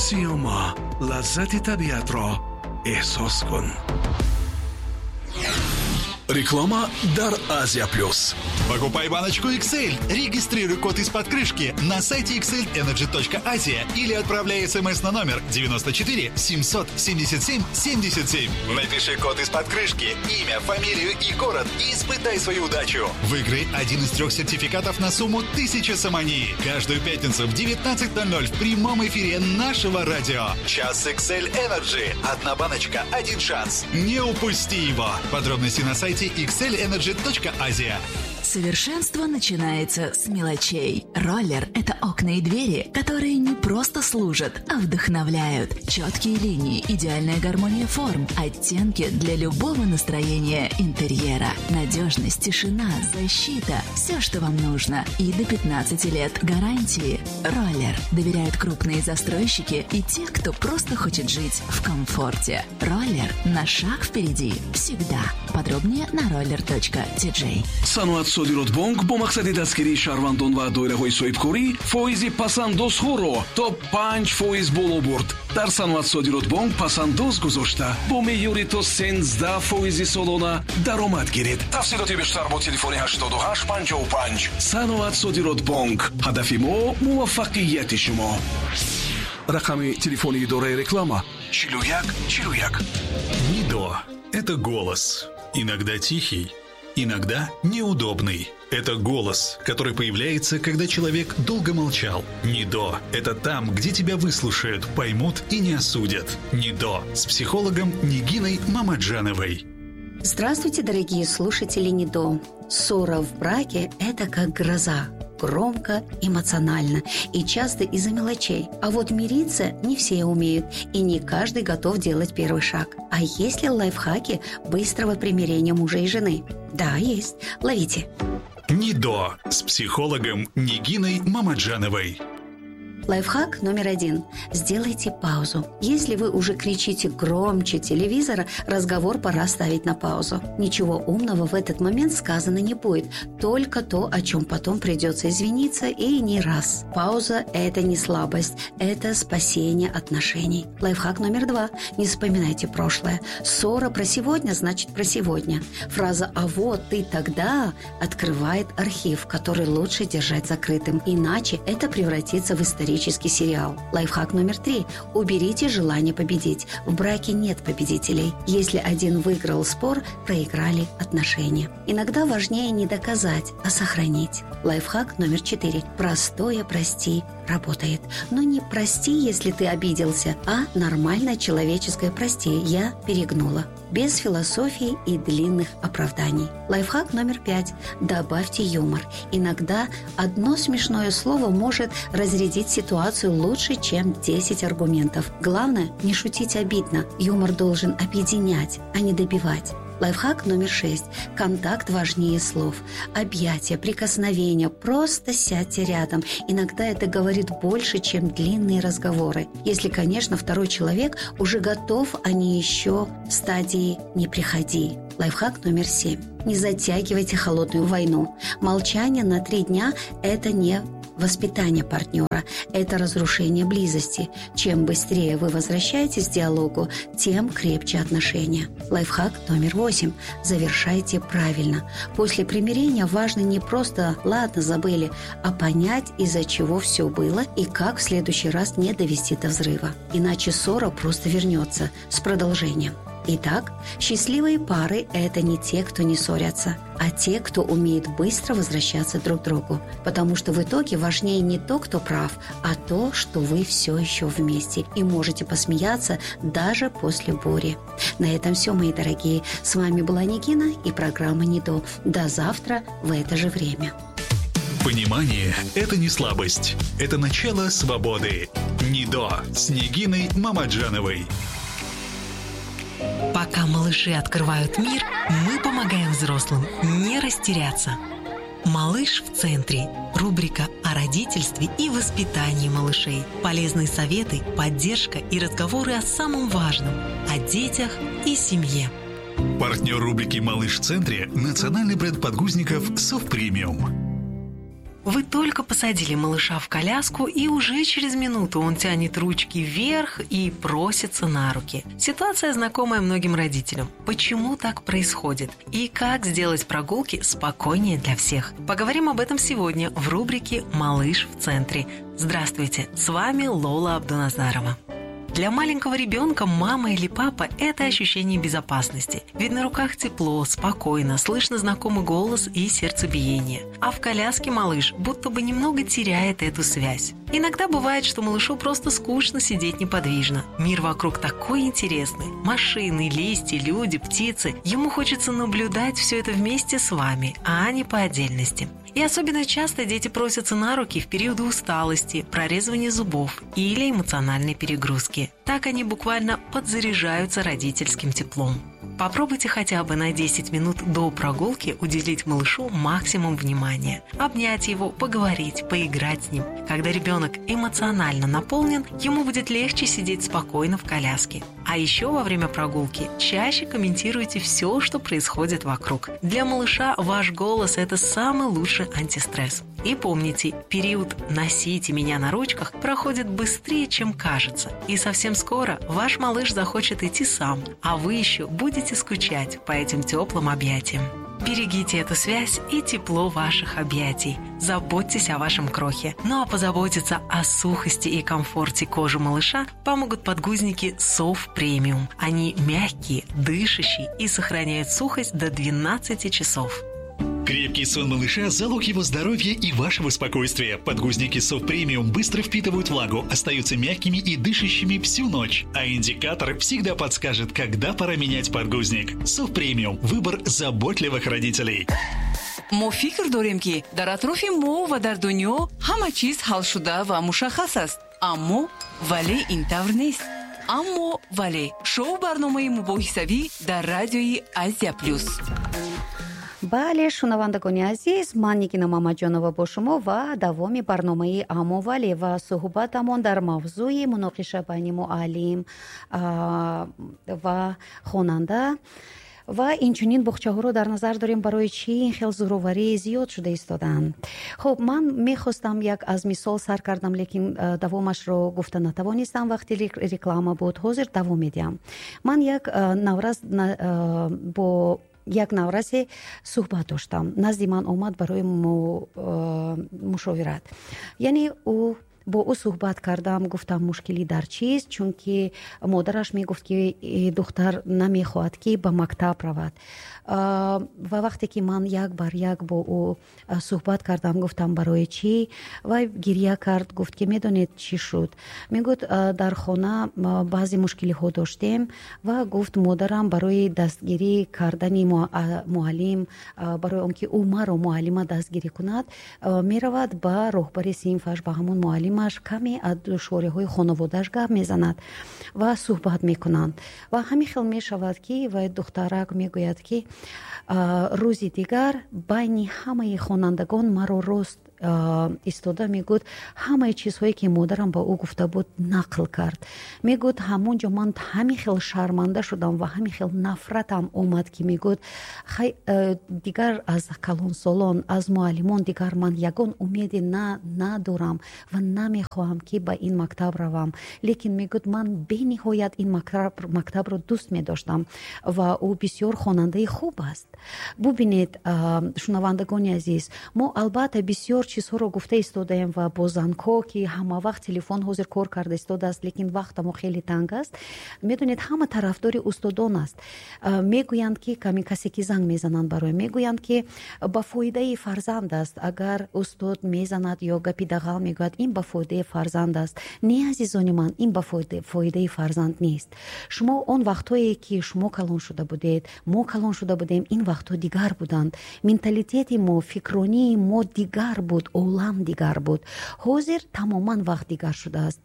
Сиёма, лаззати табиатро эҳсос кун. Реклама дар Азия Плюс. Покупай баночку XL, регистрируй код из-под крышки на сайте xlenergy.asia или отправляй смс на номер 94 777 77. Напиши код из-под крышки, имя, фамилию и город и испытай свою удачу. Выиграй один из 3 сертификатов на сумму 1000 сомони. Каждую пятницу в 19:00 в прямом эфире нашего радио. Час XL Energy. Одна баночка, один шанс. Не упусти его. Подробности на сайте xlenergy.asia. Совершенство начинается с мелочей. Роллер – это окна и двери, которые не просто служат, а вдохновляют. Четкие линии, идеальная гармония форм, оттенки для любого настроения интерьера. Надежность, тишина, защита – все, что вам нужно. И до 15 лет гарантии. Роллер доверяют крупные застройщики и те, кто просто хочет жить в комфорте. Роллер на шаг впереди всегда. Подробнее на roller.tj. Саноат Содиротбонк бо мақсади дастгирии шаҳрвандон ва доираҳои соҳибкорӣ фоизи пасандозҳоро то 5% боло бурд. Дар Саноат Содиротбонк пасандоз гузошта бо меъёри то 13% солона даромад гиред. Тафсилоти бештар бо телефони 8855. Саноат Содиротбонк. Ҳадафи мо муваффақияти шумо. Рақами телефони идораи реклама 41 41. Нидо – это голос. Иногда тихий, иногда неудобный. Это голос, который появляется, когда человек долго молчал. Нидо – это там, где тебя выслушают, поймут и не осудят. Нидо с психологом Нигиной Мамаджановой. Здравствуйте, дорогие слушатели Нидо. Ссора в браке – это как гроза. Громко, эмоционально и часто из-за мелочей. А вот мириться не все умеют, и не каждый готов делать первый шаг. А есть ли лайфхаки быстрого примирения мужа и жены? Да, есть. Ловите. Нидо с психологом Нигиной Мамаджановой. Лайфхак номер 1. Сделайте паузу. Если вы уже кричите громче телевизора, разговор пора ставить на паузу. Ничего умного в этот момент сказано не будет. Только то, о чем потом придется извиниться, и не раз. Пауза – это не слабость, это спасение отношений. Лайфхак номер 2. Не вспоминайте прошлое. Ссора про сегодня значит про сегодня. Фраза «а вот ты тогда» открывает архив, который лучше держать закрытым. Иначе это превратится в исторический сериал. Лайфхак номер 3. Уберите желание победить. В браке нет победителей. Если один выиграл спор, проиграли отношения. Иногда важнее не доказать, а сохранить. Лайфхак номер 4. Простое «прости» работает. Но не прости, если ты обиделся, а нормальное человеческое «прости, я перегнула». Без философии и длинных оправданий. Лайфхак номер 5. Добавьте юмор. Иногда одно смешное слово может разрядить ситуацию лучше, чем 10 аргументов. Главное, не шутить обидно. Юмор должен объединять, а не добивать. Лайфхак номер 6. Контакт важнее слов. Объятия, прикосновения. Просто сядьте рядом. Иногда это говорит больше, чем длинные разговоры. Если, конечно, второй человек уже готов, а не еще в стадии «не приходи». Лайфхак номер 7. Не затягивайте холодную войну. Молчание на 3 дня – это не воспитание партнера, это разрушение близости. Чем быстрее вы возвращаетесь к диалогу, тем крепче отношения. Лайфхак номер 8. Завершайте правильно. После примирения важно не просто «ладно, забыли», а понять, из-за чего все было и как в следующий раз не довести до взрыва. Иначе ссора просто вернется с продолжением. Итак, счастливые пары – это не те, кто не ссорятся, а те, кто умеет быстро возвращаться друг к другу. Потому что в итоге важнее не то, кто прав, а то, что вы все еще вместе и можете посмеяться даже после бури. На этом все, мои дорогие. С вами была Нигина и программа «Нидо». До завтра в это же время. Понимание – это не слабость, это начало свободы. «Нидо» с Нигиной Мамаджановой. Пока малыши открывают мир, мы помогаем взрослым не растеряться. «Малыш в центре» – рубрика о родительстве и воспитании малышей. Полезные советы, поддержка и разговоры о самом важном – о детях и семье. Партнер рубрики «Малыш в центре» – национальный бренд подгузников «Совпремиум». Вы только посадили малыша в коляску, и уже через минуту он тянет ручки вверх и просится на руки. Ситуация знакомая многим родителям. Почему так происходит? И как сделать прогулки спокойнее для всех? Поговорим об этом сегодня в рубрике «Малыш в центре». Здравствуйте, с вами Лола Абдуназарова. Для маленького ребенка мама или папа – это ощущение безопасности. Ведь на руках тепло, спокойно, слышно знакомый голос и сердцебиение. А в коляске малыш будто бы немного теряет эту связь. Иногда бывает, что малышу просто скучно сидеть неподвижно. Мир вокруг такой интересный. Машины, листья, люди, птицы. Ему хочется наблюдать все это вместе с вами, а не по отдельности. И особенно часто дети просятся на руки в периоды усталости, прорезывания зубов или эмоциональной перегрузки. Так они буквально подзаряжаются родительским теплом. Попробуйте хотя бы на 10 минут до прогулки уделить малышу максимум внимания. Обнять его, поговорить, поиграть с ним. Когда ребенок эмоционально наполнен, ему будет легче сидеть спокойно в коляске. А еще во время прогулки чаще комментируйте все, что происходит вокруг. Для малыша ваш голос – это самый лучший антистресс. И помните, период «носите меня на ручках» проходит быстрее, чем кажется. И совсем скоро ваш малыш захочет идти сам, а вы еще будете скучать по этим теплым объятиям. Берегите эту связь и тепло ваших объятий. Заботьтесь о вашем крохе. Ну а позаботиться о сухости и комфорте кожи малыша помогут подгузники Soft Premium. Они мягкие, дышащие и сохраняют сухость до 12 часов. Крепкий сон малыша – залог его здоровья и вашего спокойствия. Подгузники Soft Premium быстро впитывают влагу, остаются мягкими и дышащими всю ночь. А индикатор всегда подскажет, когда пора менять подгузник. Soft Premium – выбор заботливых родителей. Мо фикр дорем, ки дар атрофи мо ва дар дунё ҳама чиз ҳалшуда ва мушаххас аст. Аммо вале ин тавр нест. Аммо вале шоу барномаи мубоҳисавӣ дар радиои Азия Плюс. Бале, шунавандагони азиз, ман Нигина Мамаҷонова бо шумо ва давоми барномаи Аммо вале ва суҳбатамон дар мавзӯи муноқиша байни муаллим ва хонанда. Ва инчунин боғчаҳоро дар назар дорем, барои чӣ ин хел зӯроварӣ зиёд шуда истодаанд. Хуб, ман мехостам як аз мисол сар кардам, лекин давомашро гуфта натавонистам, вақти реклама буд. Ҳозир давом медиҳам. Ман як наврас бо як наврасе суҳбат доштам. Назди ман омад барои мушовират. Яъне ӯ бо ӯ суҳбат кардам, гуфтам мушкилӣ дар чист, чунки модараш мегуфт, ки духтар намехоҳад, ки ба мактаб равад. Ва вақте ки ман як бар як бо ӯ суҳбат кардам, гуфтам барои чӣ, вай гирья кард, гуфт, ки медонед чӣ шуд. Мегуфт, дар хона баъзе мушкилиҳо доштем ва гуфт, модарам барои дастгирӣ кардани муаллим, барои он ки ӯ маро муаллима дастгирӣ кунад, меравад ба роҳбари синфаш, ба ҳамон муаллим каме аз душвориҳои хонаводааш гап мезанад ва суҳбат мекунанд. Ва ҳамин хел мешавад, ки вай духтарак мегӯяд, ки рӯзи дигар байни ҳамаи хонандагон маро рост истода мегӯд, ҳамаи чизҳое ки модарам ба ӯ гуфта буд нақл кард. Мегӯд, ҳамон ҷо ман ҳамин хел шарманда шудам ва ҳамин хел нафратам омад, ки мегӯд, хай дигар аз калонсолон, аз муаллимон дигар ман ягон умеде надорам ва намехоҳам, ки ба ин мактаб равам. Лекин мегӯд, ман бениҳоят ин мактабро дӯст медоштам ва ӯ бисёр хонандаи хуб аст. Бубинед, шунавандагони азиз, мо албатта бисёр чизҳоро гуфта истодаем ва бо зангҳо, ки ҳама вақт телефон ҳозир кор карда истодааст, лекин вақтамо хеле танг аст. Медонед, ҳама тарафдори устодон аст. Мегӯянд, ки каме касе ки занг мезананд барои, мегӯянд, ки ба фоидаи фарзанд аст. Агар устод мезанад ё гапи дағал мегӯяд, ин ба фоидаи фарзанд аст. Не, азизони ман, ин ба фоидаи фарзанд нест. Шумо он вақтҳое ки шумо калон шуда будед, мо калон шуда будем, ин вақтҳо дигар буданд. Менталитети мо, фикронии мо дигар буд, олам дигар буд. Ҳозир тамоман вақт дигар шудааст.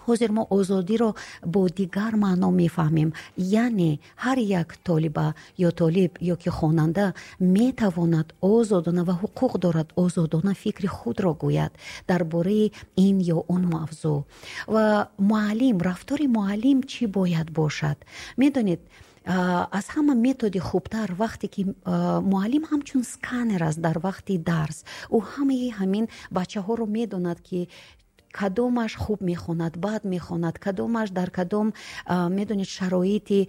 Ҳозир мо озодиро бо дигар маъно мефаҳмем. Яъне ҳар як толиба ё толиб ё ки хонанда метавонад озодона ва ҳуқуқ дорад озодона фикри худро гӯяд дар бораи ин ё он мавзӯъ. Ва муаллим, рафтори муаллим чӣ бояд бошад? Медонед, Аз ҳама методи хубтар, вақте ки муаллим ҳамчун сканер аст дар вақти дарс, ӯ ҳамаи ҳамин бачаҳоро медонад, ки кадомаш хуб мехонад, бад мехонад, кадомаш дар кадом, медонед, шароити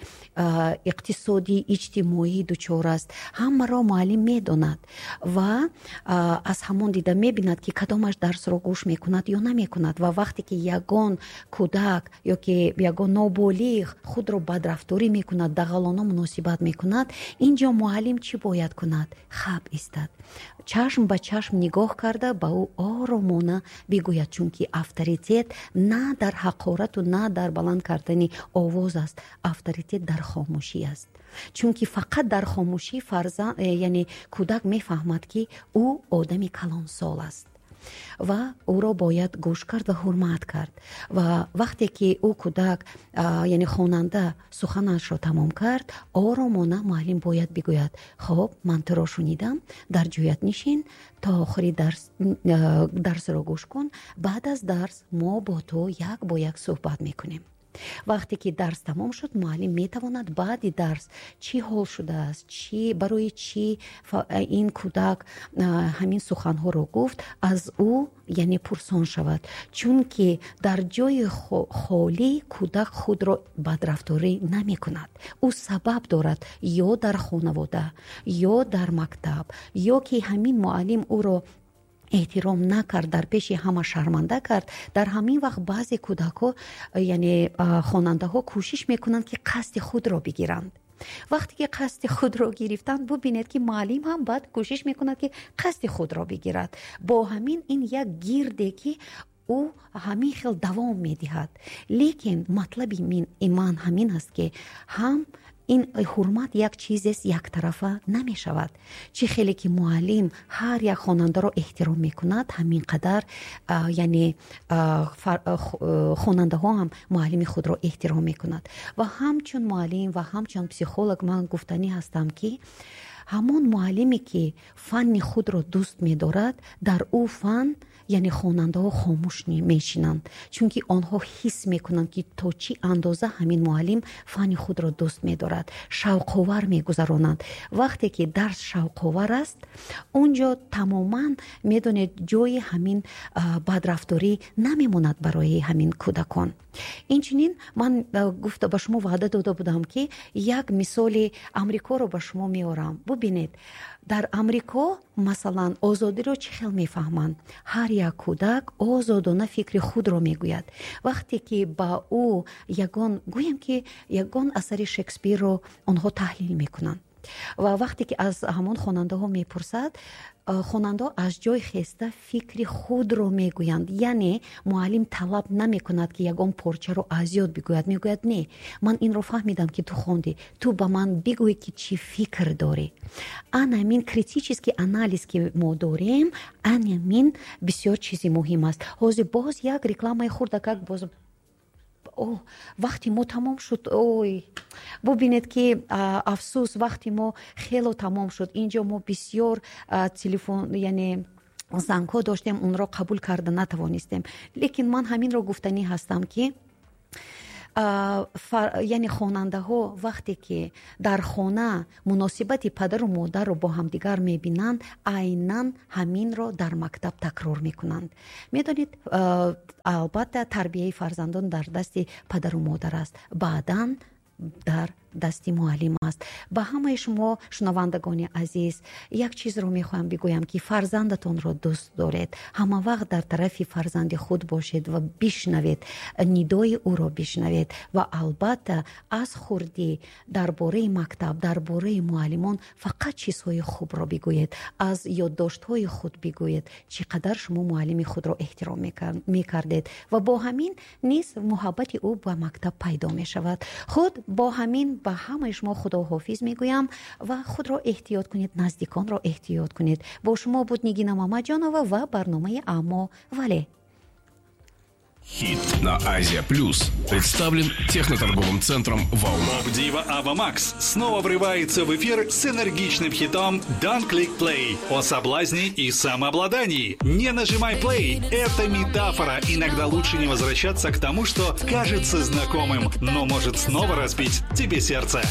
иқтисодӣ, иҷтимоӣ дучор аст. Ҳамаро муаллим медонад ва аз ҳамон дида мебинад, ки кадомаш дарсро гӯш мекунад ё намекунад. Ва вақте ки ягон кӯдак ё ки ягон ноболиғ худро бадрафторӣ мекунад, дағалона муносибат мекунад, ин ҷо муаллим чӣ бояд кунад? Хаб истад, чашм ба чашм нигоҳ карда, ба ӯ оромона бигӯяд, чунки авторитет на дар ҳақорату на дар баланд кардани овоз аст, авторитет дар хомӯшӣ аст. Чунки фақат дар хомӯшӣ фарзанд, яъне кӯдак мефаҳмад, ки ӯ одами калонсол аст ва ӯро бояд гӯш кард ва ҳурмат кард. Ва вақте ки ӯ кӯдак, яъне хонанда, суханашро тамом кард, оромона муаллим бояд бигӯяд: «Хоб, ман туро шунидам, дар ҷоят нишин, то охири дарсро гӯш кун, баъд аз дарс мо бо ту як бо як суҳбат мекунем». Вақте ки дарс тамом шуд, муаллим метавонад баъди дарс чӣ ҳол шудааст, чӣ, барои чӣ ин кӯдак ҳамин суханҳоро гуфт, аз ӯ, яъне, пурсон шавад, чунки дар ҷои холӣ кӯдак худро бадрафторӣ намекунад. Ӯ сабаб дорад: ё дар хонавода, ё дар мактаб, ё ки ҳамин муаллим ӯро эҳтиром накард, дар пеши ҳама шарманда кард. Дар ҳамин вақт баъзе кӯдакҳо, яъне хонандаҳо, кӯшиш мекунанд, ки қасди худро бигиранд. Вақте ки қасди худро гирифтанд, бубинед, ки муаллим ҳам баъд кӯшиш мекунад, ки қасди худро бигирад. Бо ҳамин ин як гирде, ки ӯ ҳамин хел давом медиҳад. Лекин матлаби ман ҳамин аст, ки ҳам ин ҳурмат як чизест, яктарафа намешавад. Чӣ хеле ки муаллим ҳар як хонандаро эҳтиром мекунад, ҳамин қадар, яъне, хонандаҳо ҳам муаллими худро эҳтиром мекунад. Ва ҳамчун муаллим ва ҳамчун психолог ман гуфтанӣ ҳастам, ки ҳамон муаллиме, ки фанни худро дӯст медорад, дар ӯ фан, яъне хонандаҳо хомӯш мешинанд, чунки онҳо ҳис мекунанд, ки то чӣ андоза ҳамин муаллим фанни худро дӯст медорад, шавқовар мегузаронанд. Вақте ки дарс шавқовар аст, он ҷо тамоман, медонед, ҷои ҳамин бадрафторӣ намемонад барои ҳамин кӯдакон. Инчунин ман гуфта, ба шумо ваъда дода будам, ки як мисоли Амрикоро ба шумо меорам. Бубинед, дар Амрико, масалан, озодиро чӣ хел мефаҳманд? Ҳар як кӯдак озодона фикри худро мегӯяд. Вақте ки ба ӯ ягон, гӯем ки, ягон асари Шекспирро онҳо таҳлил мекунанд ва вақте ки аз ҳамон хонандаҳо мепурсад, хонандаҳо аз ҷой хеста фикри худро мегӯянд. Яъне муаллим талаб намекунад, ки ягон порчаро аз ёд бигӯяд. Мегӯяд: «Не, ман инро фаҳмидам, ки ту хондӣ, ту ба ман бигӯй, ки чӣ фикр дорӣ». Ана ҳамин критический анализ, ки мо дорем, ана ҳамин бисёр чизи муҳим аст. Ҳозир боз як рекламаи хурдакак. Боз о, вақти мо тамом шуд. Ой, бубинед, ки афсӯс, вақти мо хело тамом шуд. Инҷо мо бисёр телефон, яъне зангҳо доштем, онро қабул карда натавонистем. Лекин ман ҳаминро гуфтанӣ ҳастам, ки яъне хонандаҳо вақте ки дар хона муносибати падару модарро бо ҳамдигар мебинанд, айнан ҳаминро дар мактаб такрор мекунанд. Медонед, албатта, тарбияи фарзандон дар дасти падару модар аст, баъдан дар дасти муаллим аст. Ба ҳамаи шумо, шунавандагони азиз, як чизро мехоҳам бигӯям, ки фарзандатонро дӯст доред, ҳама вақт дар тарафи фарзанди худ бошед ва бишнавед, нидои ӯро бишнавед ва албатта аз хурдӣ дар бораи мактаб, дар бораи муаллимон фақат чизҳои хубро бигӯед, аз ёддоштҳои худ бигӯед, чӣ қадар шумо муаллими худро эҳтиром мекардед, ва бо ҳамин низ муҳаббати ӯ ба мактаб пайдо мешавад. Худ бо ҳамин ба ҳамаи шумо худоҳофиз мегӯям ва худро эҳтиёт кунед, наздиконро эҳтиёт кунед. Бо шумо буд Нигина Мамаҷонова ва барномаи «Аммо вале». Хит на Азия Плюс представлен техноторговым центром «Волна». Поп-дива Ава Макс снова врывается в эфир с энергичным хитом Don't Click Play о соблазне и самообладании. Не нажимай play – это метафора. Иногда лучше не возвращаться к тому, что кажется знакомым, но может снова разбить тебе сердце.